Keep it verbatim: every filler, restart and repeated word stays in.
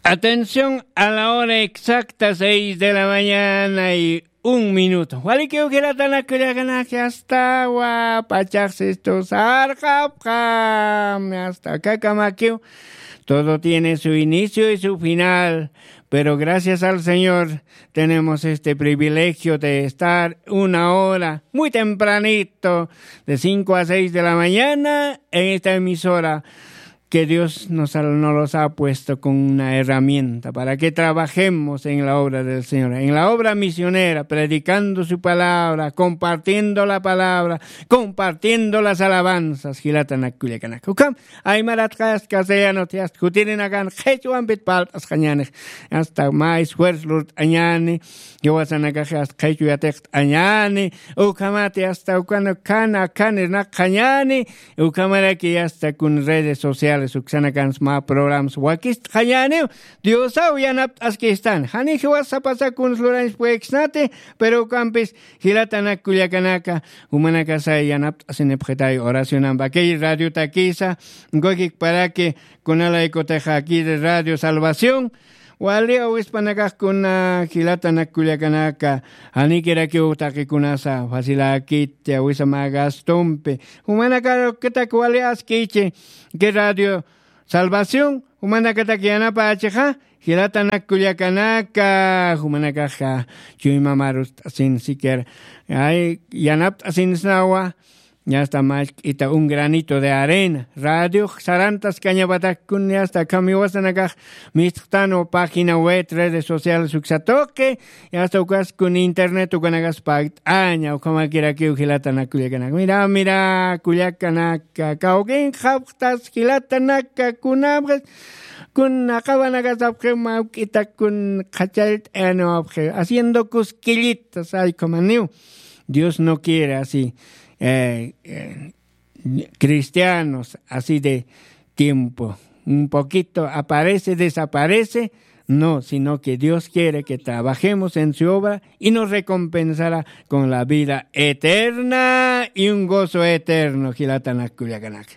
Atención a la hora exacta, seis de la mañana y un minuto. Walikiw jilatanakullakanaki, astawa pachaxsistu sarqapxam, asta kakamakiw. Todo tiene su inicio y su final, pero gracias al Señor tenemos este privilegio de estar una hora muy tempranito, de cinco a seis de la mañana, en esta emisora que Dios nos ha, nos los ha puesto con una herramienta para que trabajemos en la obra del Señor, en la obra misionera, predicando su palabra, compartiendo la palabra, compartiendo las alabanzas. Jilatanakullakanaka, ukham aymaratxas, castellanot, hasta jutirinakan qhichwampit parlt'asqañani, hasta ma esfuerzo lurt'añani, jiwasanakax hasta qhichwa yatiqt'añani, ukhamati hasta ukana kana kana irnaqxañani, ukhamaraki hasta kun redes sociales uksanakans ma programas wakist'añaniw. Diosaw yanapt'askistan, jani jiwasa pasa kuns lurañs pueksnati, pero ukampis jilatanakullakanaka, jumanakasa yanapt'asinipxitay oracionampa kay radiotakisa, ukakikparaki kunalaykutixa kiri Radio Salvación, wali awispanakax kuna jilatanakullakanaka, janikirakiw taqikunasa facilakiti awisa mä gastompi, jumanakarukitak wali askichi, kay Radio Salvación, jumanakatak yanapächixa, jilatanakullakanaka, jumanakaxa chuymamarust'asin siquiera, ay, yanapt'asinsnawa, ya está, machk'ita un granito de arena. Radio sarantas kañapatak kun, ya está, kamiwasanakax mistxtanwa página web, redes sociales uksatuqi, ya está, ukas kun internet ukanakas pakt'aña, ukhamakirakiw jilatanakullakanaka. Mira, mira, kullakanaka, kawkin qhapxtas jilatanaka, kunapxis, kun aqawanakasapxi mawk'ita kun qhachallt'ayanawapxi, haciendo cosquillitas, ay, ukhamaniw. Dios no quiere así, eh, eh, cristianos así de tiempo. Un poquito aparece, desaparece. No, sino que Dios quiere que trabajemos en su obra y nos recompensará con la vida eterna y un gozo eterno. Jilatanakullakanaka.